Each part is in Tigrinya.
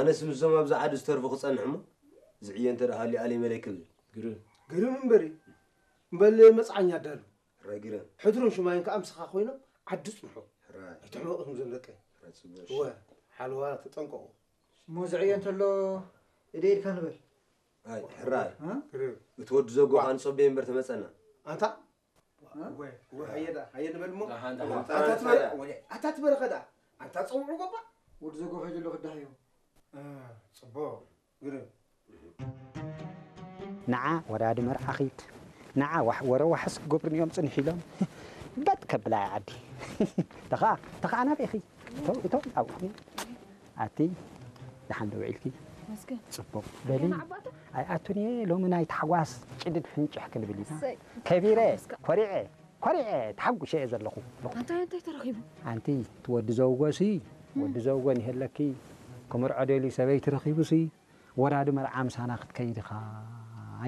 ኣነስ ምስዞም ኣብዚ ዓዲ ዝተርፉ ክጸንሕ እሞ፣ ዝዕየ እንተ ደኣ ሃልዩ ኣለይ መለይ ክብል። ግርም። ግርም እምበሪ። እምበል መጽዓኛ ኣዳሉ። ሕራይ ግርም። ሕድሩን ሽማይን ከኣ ምሳኻ ኮይኖም ዓዲ ጽንሑ። ሕራይ። ኣይትሕመቑ እዞም ደቀይ። ሕራይ ጽቡቕ። እወ፣ ሓለዋ ተጠንቀቑ። እሞ ዝዕየ እንተሎ እደ ኢድካ ንበል። ኣይ፣ ሕራይ። እ? ግርም። እቲ ወዲ ዘጎ ከኣ ንጸበዮ እምበር ተመጸና። ኣንታ ወ- ወ- ሃየ ደኣ፣ ሃየ ንበል እሞ። ደሓን፣ ደሓን። ኣታ ትበረ- ወ- ኣታ ትበረኸ ደኣ። ኣንታ ጸውዑ ጎባ። ወዲ ዘጎ ከይዱ ኣሎ ክዳሃዮ። እ፣ ጽቡቕ። ግርም። ንዓ ወራዲ መርዓ ኺድ ንዓ ዋሕ ወረ ዋሕስ ክገብሩኒ እዮም ጽንሕ ኢሎም በጥ ከብላ እያ ዓዲ ተኸኣ ተኸኣ ናበይ ኢኺ እቶ እቶ ኣብኡ ኣቲ ደሓን ዶ ውዒልኪ መስገን ጽቡቕ በሊ ገና ዓባተ ኣይኣቱን እየ ሎሚ ናይ ታሕጓስ ጭድድ ሕንጭሕ ክንብል ኢና እሰይ። ከቢረ ተሓጎስካ። ኮሪዐ ኮሪዐ ተሓጉሸ እየ ዘለኹ ኣንታይ ኣንታይ ተረኺቡ ኣንቲ እቲ ወዲ ዘውጎ ሲ ወዲ ዘውጎ ንሄለኪ ክምርዖ ደልዩ ሰበይቲ ረኺቡ ሲ ወራዲ መርዓ ምሳና ክትከይድ ኢኻ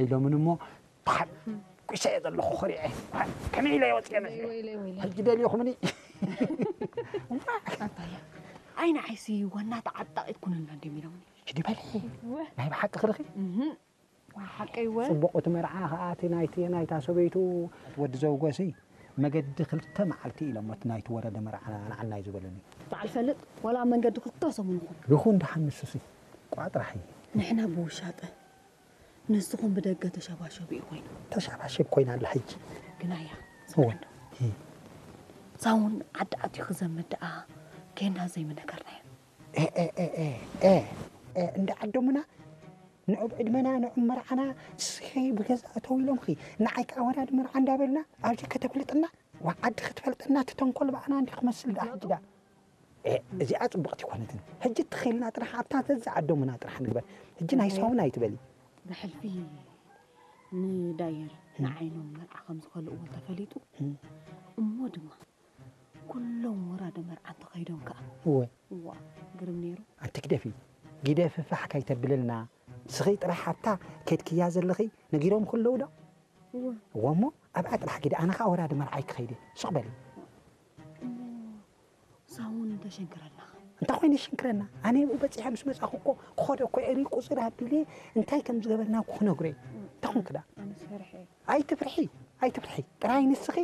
ኢሎምኒ እሞ ተሓጒሰ እየ ዘለኹ ኮሪዐ ከመይ ኢለ እየ ወፅየ መፂአ ሕጂ ደልዮኹምኒ ኣባየ ኣይ ንዓይሲ ዋና ተዓጣቒት ኩንልና እንዲም ኢሎምኒ ሕጂ በልሒ ናይ ብሓቂ ክርኺ ሓቀይ ወ ጽቡቕ እቲ መርዓ ከኣ እቲ ናይቲ ናይታ ሰበይቱ ወዲ ዘውጎሲ መገዲ ክልተ መዓልቲ ኢሎም እቲ ናይቲ ወረደ መርዓ ንዓናይ ዝበሉኒ በዓል ፈልጥ ወላ ኣብ መንገዲ ክልተ ሰሙን ይኹን ይኹን ደሓን ንሱሲ ቋጥራሕ እዩ ንሕና ብውሻጠ ንስኹም ብደገ ተሸባሸቡ እዩ ኮይኑ ተሸባሸብ ኮይና ኣላ ሕጂ ግናያ እወ ሳውን ዓዲ ኣትዩ ክዘምድ ደኣ ኬና ዘይምነገርናዮ እንዳ ዓዶምና ንዑ ብዕድመና ንዑ መርዓና እስኺ ብገዛ እተው ኢሎምኺ ንዓይ ከዓ ወራዲ መርዓ እንዳበልና ኣብዚ ከተፍልጥና ዋ ዓዲ ክትፈልጠና እቲ ተንኮል ብኣና እንዲ ክመስል ደኣ ሕጂ ደኣ እዚኣ ፅቡቕቲ ይኮነትን ሕጂ ትኽልና ጥራሕ ኣብታ ዘዛ ዓዶምና ጥራሕ ንግበር ሕጂ ናይ ሳውን ኣይትበሊ ብሕልፊ ንዳየር ንዓይኖም መርዓ ከም ዝኸልእዎ ተፈሊጡ እሞ ድማ ኩሎም ወራደ መርዓ እንተኸይዶም ከኣ እወ እዋ ግርም ነይሩ ኣንቲ ግደፊ ግደፊ ፋሕ ካይተብልልና ስኺ ጥራሕ ኣብታ ከድክያ ዘለኺ ነጊሮም ክለዉ ዶ እወ እሞ ኣብኣ ጥራሕ ጊደ ኣነ ኸዓ ወራደ መርዓይ ክኸይድ እየ ስቕ በሊ ሳውን እንተሸንክረና እንታይ ኮይኑ ይሽንክረና ኣነ ብኡ በፂሐ ምስ መፃኹ እኮ ክኸዶ እኮ እየ ቁፅሪ ኣቢለ እንታይ ከም ዝገበርና እኮ ክነግሮ እየ እንታይ ኮንክ ዳ ኣነስ ፈርሐ እየ ኣይትፍርሒ ኣይትፍርሒ ጥራይ ንስኺ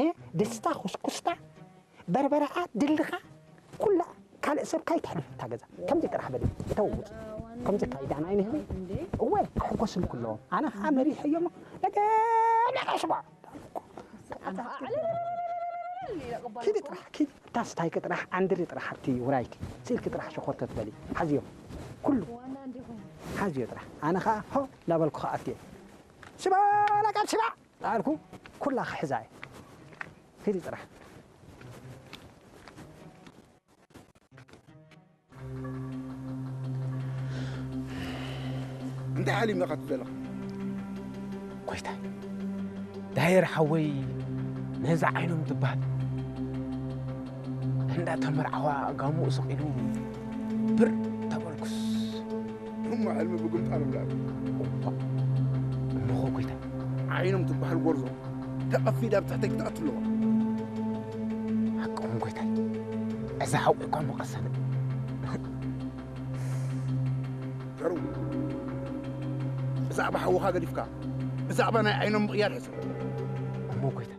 እ ድስታ ኩስኩስታ በርበረኣ ድልኻ ኩላ ካልእ ሰብ ካይተሕልፍ እታ ገዛ ከምዚ ጥራሕ በሊ እተውውፅ ከምዚ ካይዳ ናይ ንህቢ እወ ክሕጎስልኩ ኣለዎም ኣነ ከዓ መሪሐ እዮሞ ነገ ነቀሽባ ኪዲ ጥራሕ ኪዲ ታስታይኪ ጥራሕ ዓንድሪ ጥራሕ ኣብቲ ውራይኪ ስኢልኪ ጥራሕ ሸኾር ተትበሊ ሓዝዮ ኩሉ ሓዝዮ ጥራሕ ኣነ ከዓ ሆ እንዳበልኩ ከኣትየ ሽባ ላቃብ ሽባ ዳኣልኩ ኩላ ክሕዛ እየ ኪዲ ጥራሕ እንታይ ሓሊምካ ትብል ዘለኻ ጎይታይ ዳየር ሓወይ ነዛ ዓይኖም ትበሃል እንዳተመርዓዋ ጋሙኡ ስቕ ኢሉ ብር ተበልኩስ እሞ ሕልሚ ብግምጣሎም ዳኣሉ እሞኸ ጎይታይ ዓይኖም ትበሃል ጎርዞ ተቐፊዳ ኣብ ትሕተይ ክትኣቱ ኣለዋ ሓቅኹም ጎይታይ እዛ ሓቂ እኳ መቐሰነ ዘሩ ብዛዕባ ሓውኻ ገዲፍካ ብዛዕባ ናይ ዓይኖም ምቕያር ሕሰብ እሞ ጎይታ